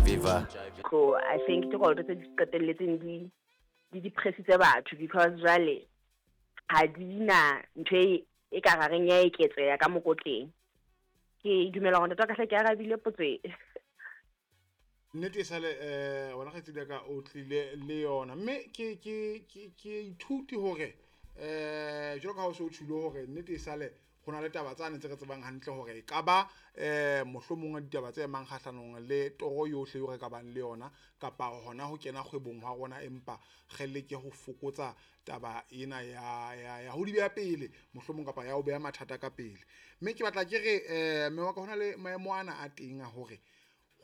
Viva. So I think ke dikoloto tse di qetelletseng di depressitse batho, because jwale ha di na ntho e ka gareng ya eketseha ka mokotleng. Ke dumela hore, ntate wa ka, hle ke arabile potso e. Nnete e sale wena, kgaitsedi ya ka, o tlile le yona, mme ke ithuti hore jwalo ka ha o se o tjhilo hore nnete e sale ho na le taba tsane tse re tsebang hantle hore e ka ba mohlomong ditaba tse emang kgahlanong le toro yohle eo re ka bang le yona kapa hona ho kena kgwebong ha rona, empa re leke ho fokotsa taba ena ya ho di beha pele mohlomong kapa ya ho beha mathata ka pele. Mme ke batla ke re, mme wa ka, hona le maemo ana a teng a hore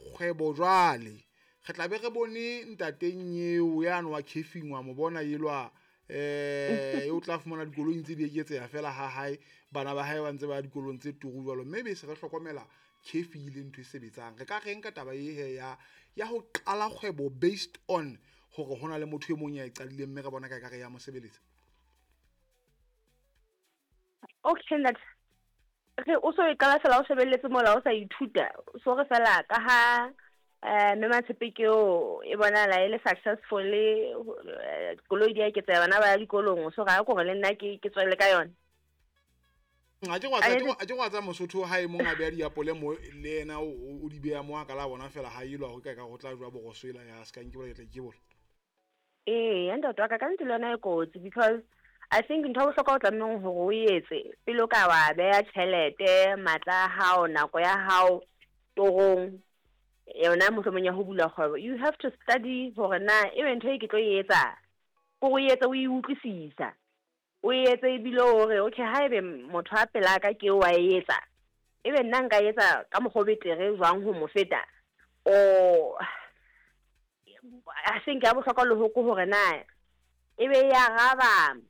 kgwebo jwale re tla be re bone ntateng eo yane wa caffeine, wa mo bona elwa, o tla fumana dikoloi ntse di eketseha fela ha hae, bana ba hae ba ntse ba ya dikolong tse turu jwalo, mme be se re hlokomela cafe le ntho e sebetsang. Re ka reng ka taba e he ya ho qala kgwebo based on hore hona le motho e mong ya e qadileng, mme re bona ka ekare ya mo sebeletsa? Okay ntate, re o so e qala fela o shebelletse mola, o sa ithuta, so re fela ka ha mme Matshepe ke eo e bonahala e le successful, koloi di a eketseha, bana ba ya dikolong, so ga ko re le nna ke tswelle ka yona. A ke wa tsa Mosotho ha e mong a beha diapole mo, le yena o di beha mo, a ka la bona fela ha elwa ho ka ho tla jwa boroso ela ya ska nke bola, ke tla ikebola. Ee, ntate wa ka nnete le yona e kotsi, because I think ntho ya bohlokwa o tlamehang hore o etse pele o ka wa beha tjhelete, matla a hao, nako ya hao torong yona mohlomong ya ho bula kgwebo, you have to study hore na ebe ntho e ke tlo e etsa kore o etse o e utlwisisa, o etse ebile hore okay, ha ebe motho a pelaka ke wa e etsa, ebe nna nka etsa ka mokgwa o betere jwang ho mo feta? O I think ya bohlokwa le ho ke hore na ebe ya raba.